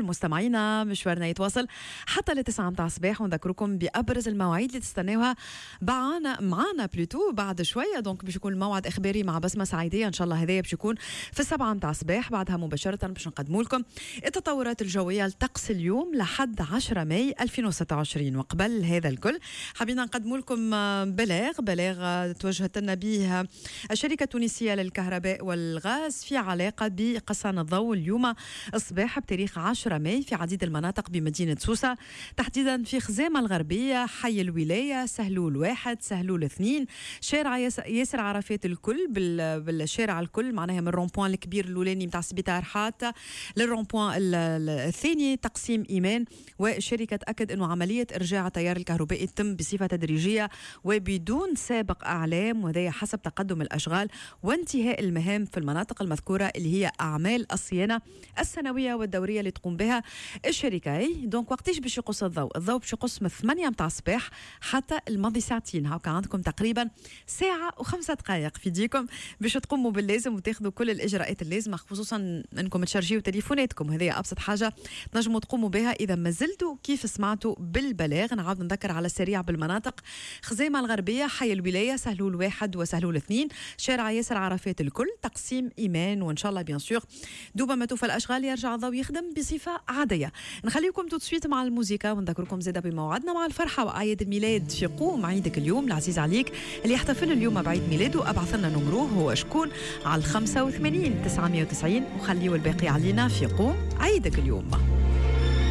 مستمعينا، مشوارنا يتواصل حتى ل9 متاع الصباح، ونذكركم بابرز المواعيد اللي تستناوها معانا plutôt بعد شويه. donc باش يكون موعد اخباري مع بسمه سعيديه ان شاء الله، هذايا باش يكون في 7 متاع الصباح. بعدها مباشرة باش نقدموا لكم التطورات الجوية لطقس اليوم لحد 10 ماي 2026. وقبل هذا الكل حبينا نقدموا لكم بلاغ توجهت لنا به الشركة التونسية للكهرباء والغاز في علاقة بقصان الضوء اليوم الصباح بتاريخ 10 ماي في عديد المناطق بمدينة سوسة، تحديدا في خزامة الغربية، حي الولاية، سهلول 1، سهلول 2، شارع ياسر عرفات الكل، بالشارع الكل معناها من ال rond-point الكبير الاولاني نتاع سبيطار حات لل rond-point الثاني تقسيم ايمان. والشركة تاكد انه عملية ارجاع التيار الكهربائي تتم بصفة تدريجيه وبدون سابق اعلام، وهذا حسب تقدم الاشغال وانتهاء المهام في المناطق المذكورة اللي هي اعمال الصيانة السنوية والدوريه اللي تقوم بها الشركه. donc وقتاش باش يقص الضوء؟ الضوء باش يقص من 8 متاع الصباح حتى الماضي ساعتين. هاكا عندكم تقريبا ساعة و5 دقائق في ديكم باش تقوموا باللازم وتاخذوا كل الاجراءات اللازمه، خصوصا انكم تشارجيو تليفوناتكم. هذه ابسط حاجة تنجموا تقوموا بها اذا ما زلتوا كيف سمعتوا بالبلاغ. نعاود نذكر على السريع بالمناطق: خزيمة الغربيه، حي الولايه، سهلول 1 وسهلول 2، شارع ياسر عرفات الكل، تقسيم ايمان. وان شاء الله bien sûr دوبا ما توفى الاشغال يرجع الضوء يخدم بصفة عاديه. نخليكم tout de suite مع الموسيقى ونذكركم زاده بموعدنا مع الفرحة واعياد الميلاد في قوم عيدك اليوم. العزيز عليك اللي يحتفل اليوم بعيد ميلاده، ابعث لنا numéro هو شكون على 85 990 وخليوا الباقي علينا في قوم عيدك اليوم.